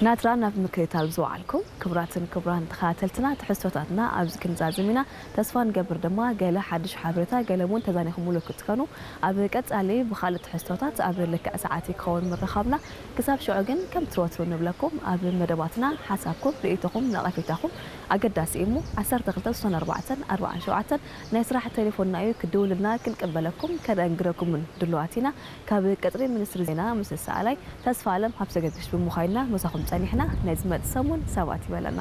ናትራ ናብ ምክትታል ዝወዓልኩም ክቡራትን ክቡራን ተኸታተልትና፣ ትሕዝቶታትና ኣብዚ ክንዛዝም ኢና። ተስፋ ንገብር ድማ ገለ ሓድሽ ሓበሬታ፣ ገለ እውን ተዛኒኹምሉ ክትኮኑ። ኣብ ቀጻሊ ብኻልእ ትሕዝቶታት ኣብ ልክዕ ሰዓት ክኸውን ምርኻብና። ክሳብ ሽዑ ግን ከምቲ ወትሩ ንብለኩም፣ ኣብ መደባትና ሓሳብኩም፣ ርእይቶኹም፣ ነቐፌታኹም ኣገዳሲ እዩ እሞ ዓሰርተ ክልተ ስሳን ኣርባዕተን ኣርባዓን ሸውዓተን ናይ ስራሕ ቴሌፎንና እዩ። ክድውልና ክንቅበለኩም ከነእንግደኩምን ድሉዋት ኢና። ካብ ቀጽሪ ሚኒስትሪ ዜና ምስ ሰኣላይ ተስፋ ኣለም ሃብተ ገርግሽ ብምዃይና ምሳኹም ጸኒሕና። ናይ ዝመጽእ ሰሙን ሰባት ይበለና።